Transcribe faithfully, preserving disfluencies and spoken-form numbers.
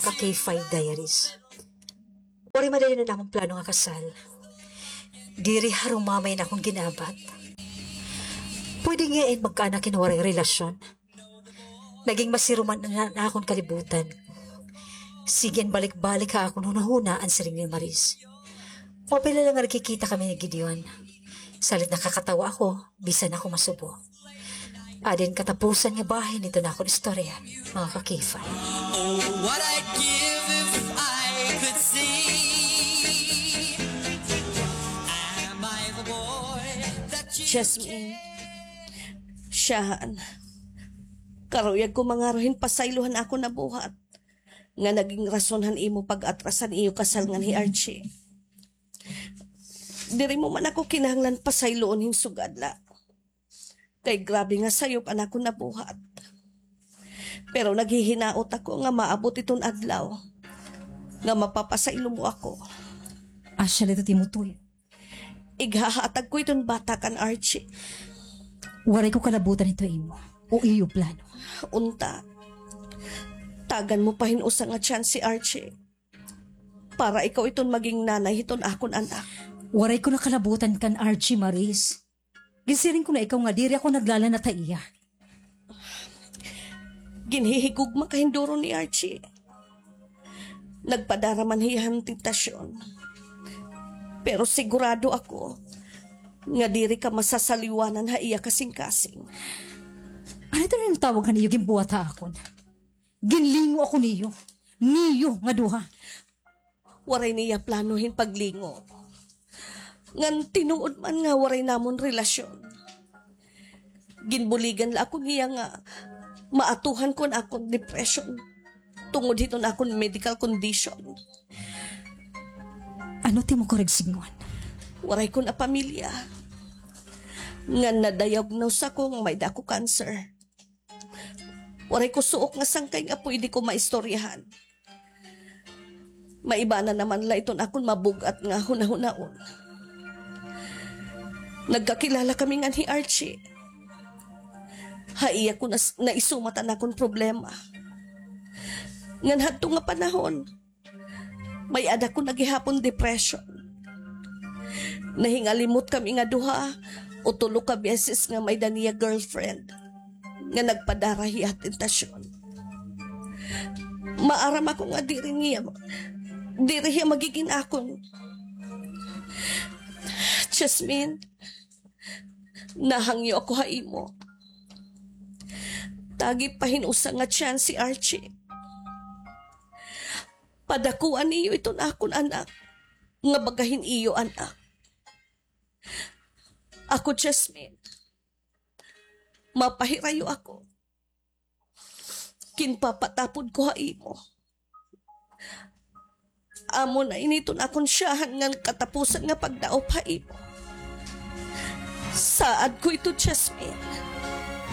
Ka-K five Diaries. Waray madayon an amon plano nga kasal. Diri harumamay an akon gin-abat. Pwede ngay-an magkaanak hin waray relasyon. Naging masiruman na an akon kalibutan. Sige an balik-balik ha akon hunahuna an siring ni Maris. Mapila la nga nagkikita kami ni Gideon. Salit nakakatawa ako, bisan ako masubo. Adi an katapusan nga bahin hiton akon istorya, mga ka-K five. Oh, what I'd give if I could see. Am I the boy that you Jasmine, siyahan. Karuyag ko mangaro hin pasaylo han akon nabuhat nga naging rason han imo pag-atras han iyo kasal ngan hi Archie. Diri mo man ako kinahanglan pasayloon hin sugad la. Kay grabe nga sayop an akon nabuhat. Pero naghihinaot ako nga maabot iton adlaw nga mapapasaylo mo ako. Asya la ito, Timothy. Ighahatag ko iton bata kan Archie. Waray ko kalabutan hito imo o iyo plano. Unta, tagan mo pa hin usa nga chance hi Archie. Para ikaw iton maging nanay hiton akon anak. Waray ko na kalabutan kan Archie, Maris. Ginsiring ko na ikaw nga diri ako naglalanat ha iya. Ginhihigugma ka hin duro ni Archie. Nagpadara man hiya han tentasyon. Pero sigurado ako nga diri ka masasaliwanan ha iya kasingkasing. Ano ito na yung tawag han iyo ginbuhat ha akon? Ginlingo ako niyo. Niyo nga duha. Waray niya plano hin paglingo. Ngan tinuod man nga waray namon relasyon. Ginbuligan la ako niya nga maatuhan ko an akon depression tungod hiton akon medical condition. Ano it imo karuyag sidngon? Waray ko na pamilya. Ngan na-diagnose ako nga may da ako cancer. Waray ko suok nga sangkay nga pwede ko maistoryahan. Maiba na naman la iton akon mabug-at nga hunahunaon. Nagkakilala kami ngan hi Archie. Ha iya ko nas-, naisumat an akon problema. Ngan hadto nga panahon, may-ada ko na gihapon depression. Nahingalimot kami nga duha o tulo ka beses nga may-ada niya girlfriend nga nagpadara hiya ha tentasyon. Maaram ako nga diri niya, diri hiya magigin akon. Jasmine, nahangyo ako ha imo. Tagi pa hin usa nga chance hi Archie. Padakuan niyo iton akon anak nga baga hin iyo anak. Ako, Jasmine, mapahirayo ako. Ginpapatapod ko ha imo. Amo na ini iton akon siyahan ngan katapusan nga pagdaop ha imo. Saad ko ito, Jasmine.